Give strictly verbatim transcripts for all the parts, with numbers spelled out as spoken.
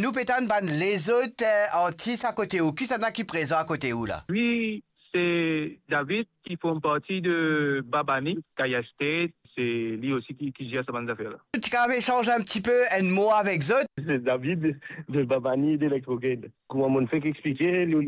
Nou pe tann bann lezot, eh, artis akote ou. Kisannla ki prezan akote ou la? Wi, se David ki form parti de Babani, Kaya Estate. Se li osi ki, ki zer sa bann zafer la. Ti kapav esanz enn tipe enn mo avek zot? Se David de Babani, de Electrocade. Kouma monn fek explike, nou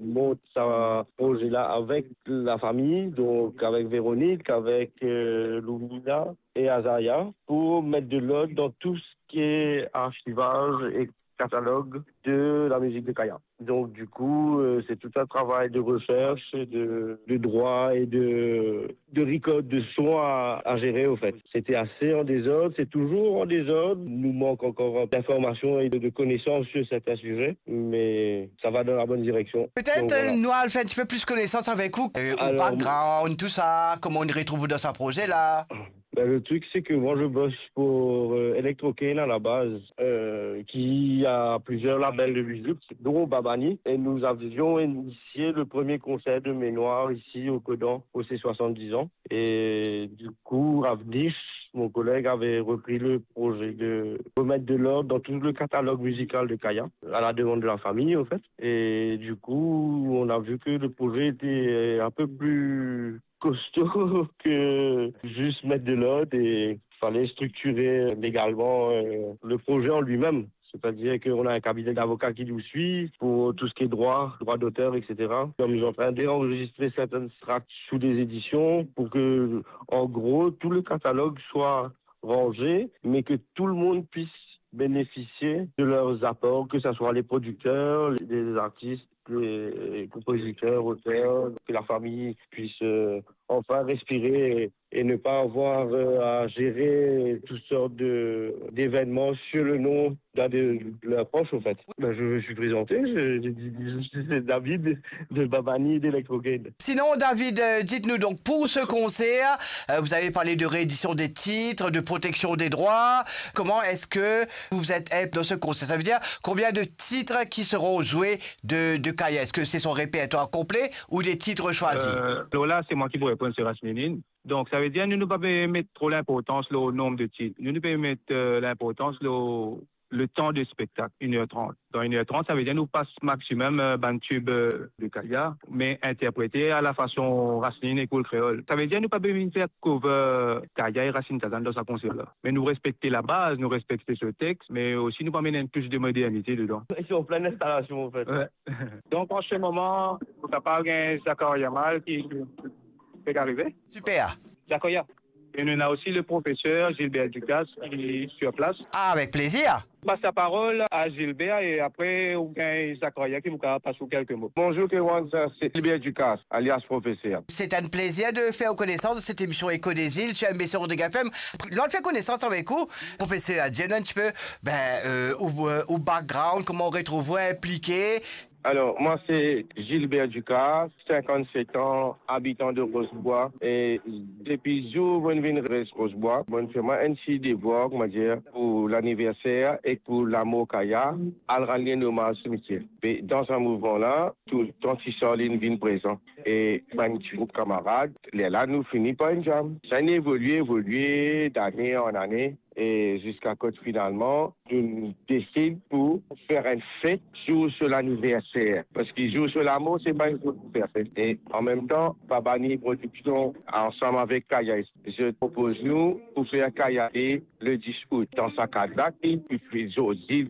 mont sa proze la avek lafami, donk avek Véronique, avek, euh, Loumina e Azaya, pou met de lord dan tou seki archivaz e katalog de la mizik de Kaya. Donc, du coup, euh, c'est tout un travail de recherche, de, de droit et de, de record de son à, à gérer, au fait. C'était assez en désordre, c'est toujours en désordre. Il nous manque encore d'informations et de, de connaissances sur certains sujets, mais ça va dans la bonne direction. Peut-être, donc, voilà. Euh, nou al fer enn tipe plis konesans avek ou, euh, ou background, tou sa, kouma ou retrouv ou dan sa proze la. Ben, le truc, c'est que moi, je bosse pour, euh, Electrocane à la base, euh, qui a plusieurs labels de musique, dont Babani. Et nous avions initié le premier concert de Ménoir ici au Codan, pour ses soixante-dix ans. Et du coup, Ravnish, mon collègue, avait repris le projet de remettre de l'ordre dans tout le catalogue musical de Kaya, à la demande de la famille, au fait. Et du coup, on a vu que le projet était un peu plus costaud que juste mettre de l'ordre et fallait structurer légalement, euh, le projet en lui-même. C'est-à-dire qu'on a un cabinet d'avocats qui nous suit pour tout ce qui est droit, droit d'auteur, et cetera. Nous sommes en train d'enregistrer certaines tracks sous des éditions pour que, en gros, tout le catalogue soit rangé, mais que tout le monde puisse bénéficier de leurs apports, que ce soit les producteurs, les artistes, les compositeurs, auteurs, que la famille puisse, euh, enfin respirer et, et ne pas avoir, euh, à gérer toutes sortes de, d'événements sur le nom d'un de leurs proches, en fait. Ben, je me suis présenté, je, je dis, je suis David de Babani d'Electrocade. Sinon, David, euh, dites-nous donc, pour ce concert, euh, vous avez parlé de réédition des titres, de protection des droits. Comment est-ce que vous êtes dans ce concert? Ça veut dire combien de titres qui seront joués de, de Kaya? Est-ce que c'est son répertoire complet ou des titres choisis? Euh, alors là, c'est moi qui vous réponds, c'est Rasninin. Donc, ça veut dire, nou, nou pa pe met tro linportans lor nombre de titres. Nou, nou pe met, euh, linportans lor le temps de spectacle, une heure trente. Dans une heure trente, ça veut dire nou pas maximum, euh, bann tube, euh, de Kaya, mais interprété à la façon Rasninin e Koul Kreol. Ça veut dire nou pa pe vinn fer cover Kaya e Racine Tazan dan sa konser la. Mais nou respekte la baz, nou respekte so text, mais aussi nou pe amenn enn touch de modernité dedan. Ils sont en pleine installation, en fait. Ouais. Donc, en ce moment, nou kapav gagn Zakaria Mal ki, ki pe arive. Super. Zakaria. Et nou ena osi le professeur Gilbert Ducasse qui est sur place. Ah, avec plaisir. Pas la parole à Gilbert et après, ou bien Zakaria qui nous passe quelques mots. Bonjour, Kewan, c'est Gilbert Ducasse, alias Professeur. C'est un plaisir de faire connaissance de cette émission Écho des Îles sur M B C Rodrigue F M. Nou al fer konesans avek ou, professeur. Dir nou enn tipe, ben, euh, ou, euh, ou background, kouma ou retrouv ou inplike. Alors, moi, c'est Gilbert Ducasse, cinquante-sept ans, habitant de Rosebois. E depi zour monn vinn res Rosebois, monn fer mwa enn ti devwar, on va dire, pour l'anniversaire et pour l'amour Kaya, al rann li enn omaz simitier. Me dan sa mouvman la, toultan ti Sarline vinn prezan. E bann ti group kamarad, lerla nou fini par enn jam. Sa inn evolie, evolie, d'ane an ane. E ziska kot finalman, nou desid pou fer enn fet zour so laniverser. Parski zour so lamor, se pa enn zour pou fer fet. E anmemtan, Babani Production, ansam avek Kaya, zot propoz nou pou fer Kaya Day le dis out. Dan sa kad la, ki, ki zordi,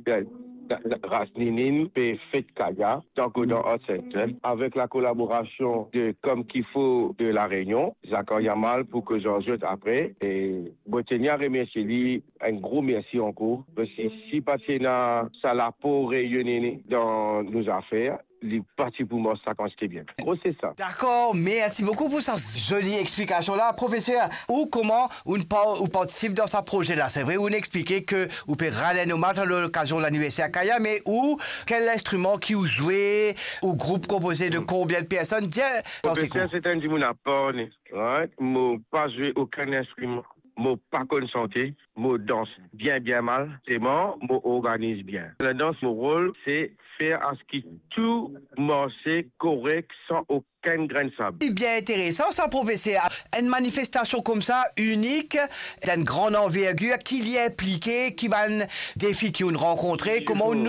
Rasninin pe fet Kaya, dan Kodan Art Center, avek la kolaborasion de Comme Qu'il Faut de La Réunion, Zakaria Mal pou koz ar zot apre. E mo teni a remersie li, enn gro mersi ankor, parski si pa ti ena sa lapor reyone dan nou zafer, li pa ti pou mars sa kantite bien. Gro, se sa. Dakor, mersi boukou pou sa zoli explikasion la. Profeser, ou kouma ou pa-, ou partisip dan sa proze la? Se vre, ou explike ke ou pe rann enn omaz a lokazion laniverser Kaya, me ou, kel instriman ki ou zwe, ou group konpoze de konbien de personn? Dir, profeser, se enn dimoun apar, right? Mo pa zwe okenn instriman. Mo pa konn sante, mo dans bien, bien mal, selman mo organiz bien. Ladans, mo rol, se fer aski tou marse korek san okenn grenn sab. Li bien interesan sa, profeser. Enn manifestasion koumsa, inik, dan enn gran anvergir, ki li inplike, ki bann defi ki ou'nn rankontre, kouma ou'nn